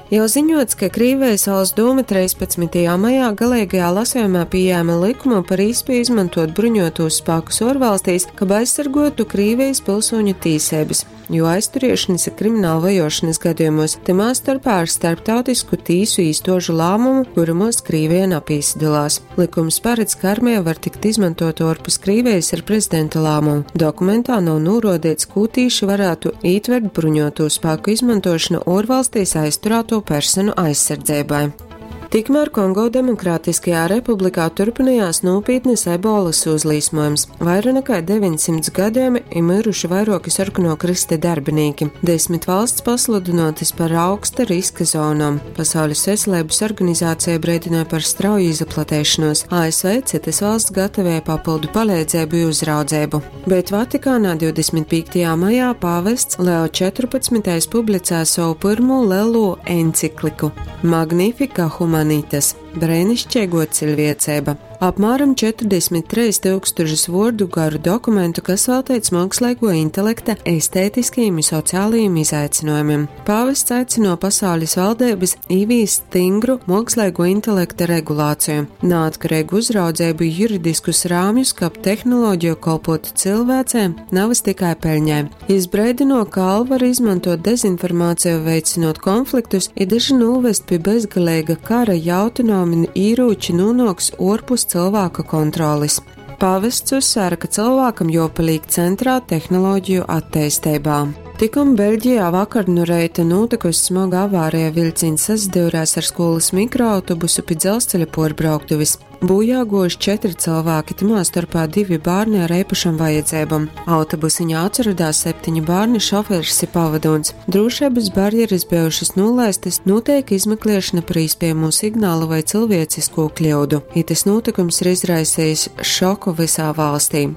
Jau ziņots, ka Krīvijas valsts dūme 13. maijā galīgajā lasījumā pieņēma likumu par īspēju izmantot bruņotos spēkus ārvalstīs, kab aizsargotu Krīvijas pilsoņu tīsības, jo aizturēšanas ir krimināla vajošanas gadījumos, timā starpā ar starptautisku tīsu īstožu lēmumu, kuramos Krīvija napīsadalās. Likums paredz, ka armija var tikt izmantot ārpus Krīvijas ar prezidenta lēmumu. Dokumentā nav norodīts, ko tīši varētu ītvert bruņoto spēku izmantošanu ārvalstīs aizturēto personu aizsardzībai. Tikmēr Kongo Demokrātiskajā republikā turpinājās nopietnas ebolas uzlīsmojums. Vairāk nekā 900 gadījumi ir miruši vairāki sarkano krista darbinieki. 10 valsts pasludinotas par augsta riska zonām. Pasaules veselības organizācija brīdināja par strauju izplatēšanos. ASV citas valsts gatavoja papildu palīdzību un uzraudzību. Bet Vatikānā 25. maijā pāvests Leo 14. publicēja savu pirmo lielo encikliku Magnifica Humanitas - brēnišķīgo cilvēcība. Apmēram 43 tūkstošus vārdu garu dokumentu, kas veltīts mākslīgo intelekta estētiskajiem un sociālajiem izaicinājumiem. Pāvests aicino pasaules valdības īvīst stingru mākslīgo intelekta regulāciju, neatkarīgu uzraudzību juridiskus rāmjus, kap tehnoloģiju kolpotu cilvēcēm, navas tikai peļņai. Jis brēdino, ka var izmantot dezinformāciju, veicinot konfliktus, ir daži novest pie bezgalīga kara, ja autonomi īrūči nonāks orpus cilvēka kontrolis. Pāvests uzsvēra, ka cilvēkam jopalīk centrā tehnoloģiju attīstībā. Tikum Beļģijā vakar nu reita notikusi smaga avārija vilciens sasadūrās ar skolas mikroautobusu pie dzelzceļa porbrauktuves. Bojā gojuši četri cilvēki, timā starpā divi bērni ar īpašām vajadzībām. Autobusiņā atradās septiņi bērni, šoferis ir pavadons. Drošības barjeras bijušas nolaistas, notiek izmeklēšana par iespējamo signālu vai cilvēcisko kļūdu. Itis notikums ir izraisījis šoku visā valstī.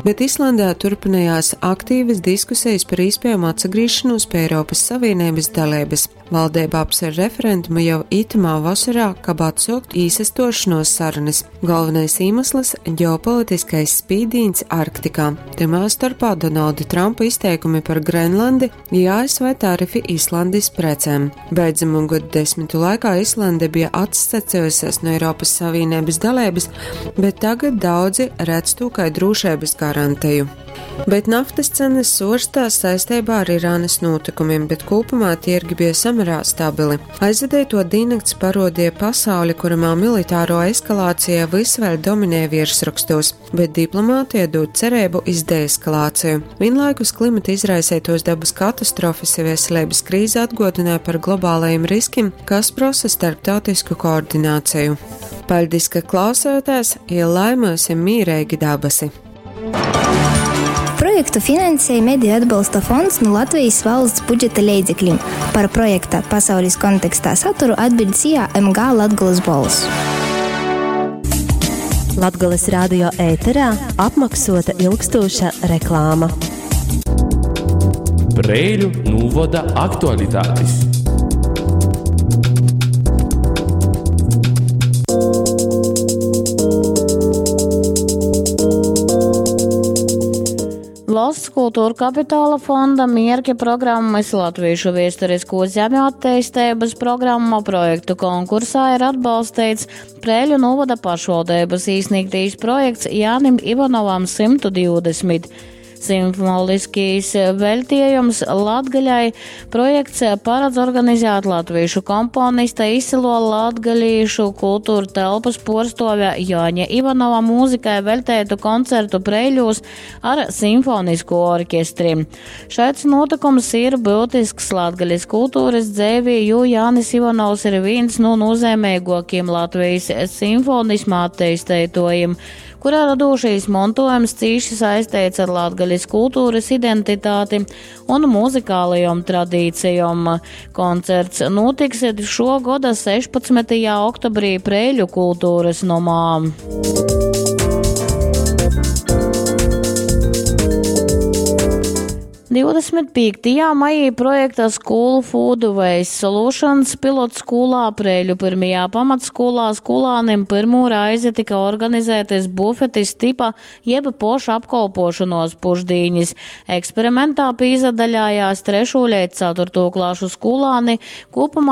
Bet Islandē turpinājās aktīvas diskusijas par iespējamu atsagriešanos pie Eiropas Savienības dalības. Valdība apsver referendumu jau itamā vasarā, kab atsaukt īsastošanos sarunas. Galvenais iemesls - ģeopolitiskais spīdīns Arktikā. Timā starpā Donalda Trumpa izteikumi par Grenlandi ja ASV tarifi Islandes precēm. Beidzamo gadu desmitu laikā Islande bija atsacījusies no Eiropas Savienības dalības, bet tagad daudzi redz to kā drošības garantiju. Bet naftas cenas svārstās saistībā ar Irānas notikumiem, bet kopumā tirgi bija samērā stabili. Aizvadīto diennakts parodīja pasauli, kuramā militāro eskalācija vis vēl dominē virsrakstos, bet diplomātija dod cerību iz deeskalāciju. Vienlaikus klimata izraisītos dabas katastrofas ja veselības krīze atgodināja par globālajiem riskiem, kas prasa starptautisku koordināciju. Paldies, ka klausāties, ja lai mums ir mīrīgi dabasi! Projektu finansēja Mediju atbalsta fonds no Latvijas valsts budžeta leidzekļiem. Par projekta pasaules kontekstā saturu atbild SIA MG Latgulas bols. Latgulas radio ēterā apmaksota ilgstoša reklāma. Preiļu novada aktualitātes. Valsts kultūra kapitāla fonda mierķa programmas Latviešu viesturisko zemju attīstības programma projektu konkursā ir atbalstīts Prēļu novada pašvaldības īsniegtīs projekts Jānim Ivanovam 120. Simfoniskīs veltījums Latgaļai projekts paredz organizēt latviešu komponista izcilo latgalīšu kultūra telpas porstovja Jāņa Ivanova mūzikai veltētu koncertu Preiļūs ar simfonisko orķestri. Šāds notikums ir būtisks latgaļas kultūras dzēvī, jo Jānis Ivanovs ir viens no nozīmīgākiem Latvijas simfonisma attīstītājiem, kurā radošais mantojums cīši saistīts ar latgaļas kultūras identitāti un muzikālajām tradīcijām. Koncerts notiks šo gada 16. oktobrī Preiļu kultūras nomā. 25. maijā projekta School Food Waste Solutions pilotskolā Prēļu pirmajā pamatskolā skolānim pirmo reizi tika organizētas bufetis tipa jeb poša apkolpošanos pušdīņas. Eksperimentā pīzadaļājās 3. līdz 4. klašu skolāni, kopumā